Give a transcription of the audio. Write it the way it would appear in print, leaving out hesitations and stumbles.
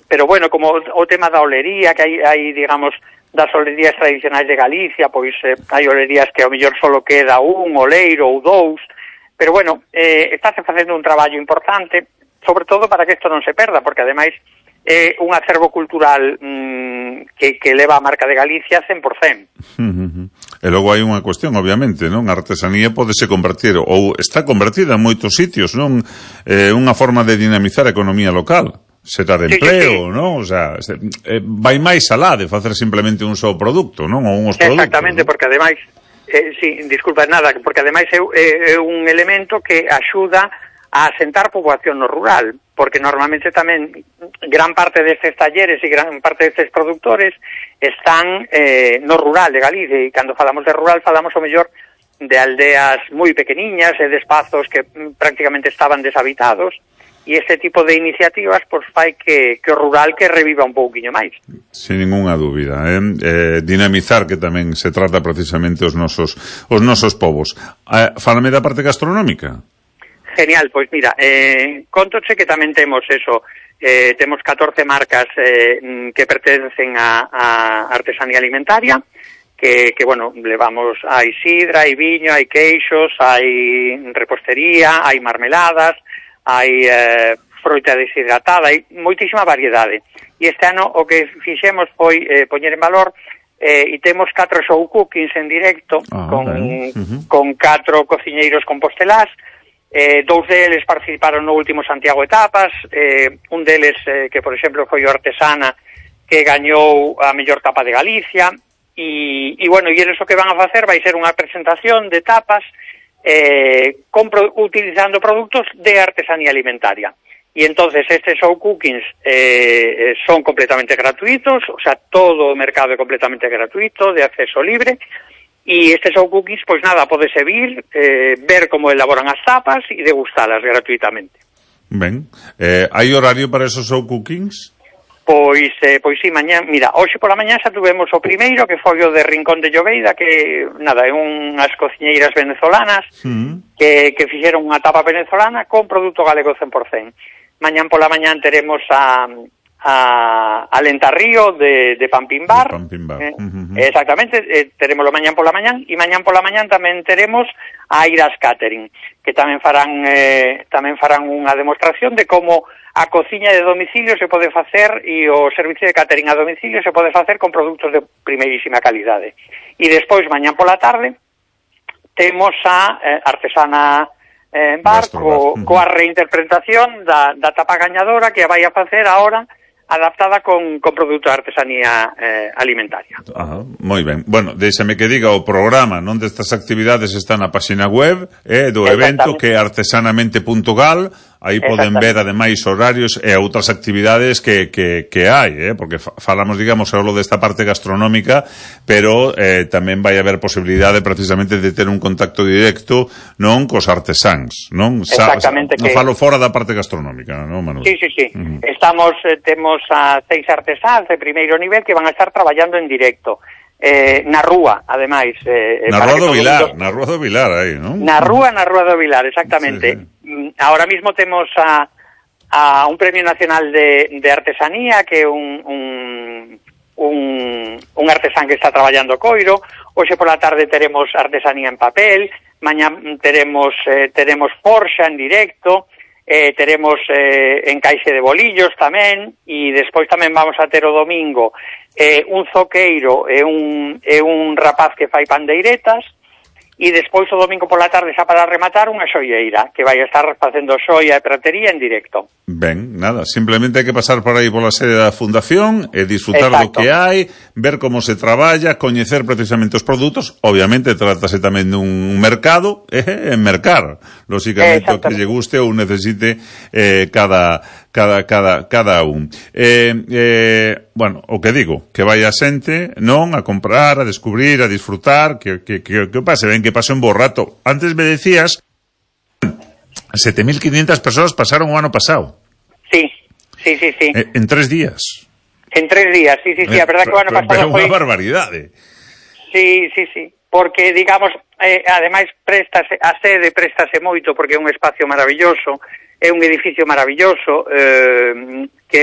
pero bueno, como o tema da olería, que hai digamos, das olerías tradicionais de Galicia, pois hai olerías que ao mellor solo queda un oleiro ou dous, pero bueno, estáse facendo un traballo importante, sobre todo para que isto non se perda, porque ademais é un acervo cultural que leva a marca de Galicia 100%. E logo hai unha cuestión, obviamente, non? A artesanía podese convertir, ou está convertida en moitos sitios, non? Unha forma de dinamizar a economía local. Será de empleo, sí. Non? O sea, vai máis alá de facer simplemente un só produto, non? Ou unhos produtos. Exactamente, ¿no? Porque ademais, disculpa nada, porque ademais é un elemento que axuda a asentar poboación no rural, porque normalmente tamén gran parte destes talleres e gran parte destes productores están no rural de Galicia, e cando falamos de rural falamos o mellor de aldeas moi pequeniñas e de espazos que prácticamente estaban deshabitados, e este tipo de iniciativas pois fai que o rural que reviva un pouquiño máis. Sin ninguna dúbida, dinamizar, que tamén se trata precisamente os nosos povos. Fálame da parte gastronómica. Genial, pois mira, contoche que tamén temos eso, temos 14 marcas que pertencen a artesanía alimentaria, que bueno, levamos, hai sidra, hai viño, hai queixos, hai repostería, hai marmeladas, hai froita deshidratada, hai moitísima variedade. E este ano o que fixemos foi poñer en valor e temos 4 show cookings en directo con 4 cociñeiros compostelás. 2 deles participaron no último Santiago Etapas, un deles que, por exemplo, foi o Artesana, que gañou a mellor tapa de Galicia, e bueno, e eles o que van a facer vai ser unha presentación de tapas utilizando produtos de artesanía alimentaria. E entonces estes show cookings son completamente gratuitos, o sea, todo o mercado é completamente gratuito, de acceso libre. E estes show cookies, pois nada, podese vir, ver como elaboran as tapas e degustalas gratuitamente. Ben, hai horario para esos show cookings? Pois sí, mañán, mira, hoxe pola mañá xa tuvemos o primeiro, que foi o de Rincón de Llobeida, que, nada, é unhas cociñeiras venezolanas que fixeron unha tapa venezolana con produto galego 100%. Mañán pola mañán teremos a Lentarrío de Pampín Bar. Exactamente, terémoslo mañán pola mañán, e mañán pola mañán tamén teremos a Iras Catering, que tamén farán unha demostración de como a cociña de domicilio se pode facer e o servicio de catering a domicilio se pode facer con produtos de primeirísima calidade. E despois, mañán pola tarde, temos a Artesana Bar coa reinterpretación da tapa gañadora, que a vai a facer ahora adaptada con produto de artesanía alimentaria. Moi ben. Bueno, déixame que diga, o programa non destas actividades está na página web do evento, que é artesanamente.gal. Aí poden ver, ademais, horarios e outras actividades que hai, porque falamos, digamos, só desta parte gastronómica, pero tamén vai haber posibilidade precisamente de ter un contacto directo non cos artesáns, non? Exactamente. Non falo fora da parte gastronómica, non, Manuel? Sí. Temos a 6 artesáns de primeiro nivel que van a estar traballando en directo. Na rúa, ademais. Na Rúa do Vilar, aí, non? Na Rúa do Vilar, exactamente. Sí. Ahora mismo temos a un premio nacional de artesanía, que é un artesán que está traballando coiro. Hoxe pola tarde teremos artesanía en papel, mañá teremos forxa en directo, teremos encaixe de bolillos tamén, e despois tamén vamos a ter o domingo un zoqueiro e un rapaz que fai pandeiretas, e despois o domingo pola tarde, xa para rematar, unha xoieira que vai estar facendo xoia e pratería en directo. Ben, nada, simplemente hai que pasar por aí pola sede da Fundación e disfrutar do que hai, ver como se traballa, coñecer precisamente os produtos. Obviamente trátase tamén dun mercado, mercar, lóxicamente, o que lle guste ou necesite cada un. Bueno, o que digo, que vai a xente, non, a comprar, a descubrir, a disfrutar, que pase, ben que pase un bo rato. Antes me decías 7.500 persoas pasaron o ano pasado. Sí. En 3 días. En 3 días, sí. A verdad que o ano pasado foi... unha barbaridade. Sí. Porque, digamos, ademais, a sede préstase moito, porque é un espacio maravilloso, é un edificio maravilloso, que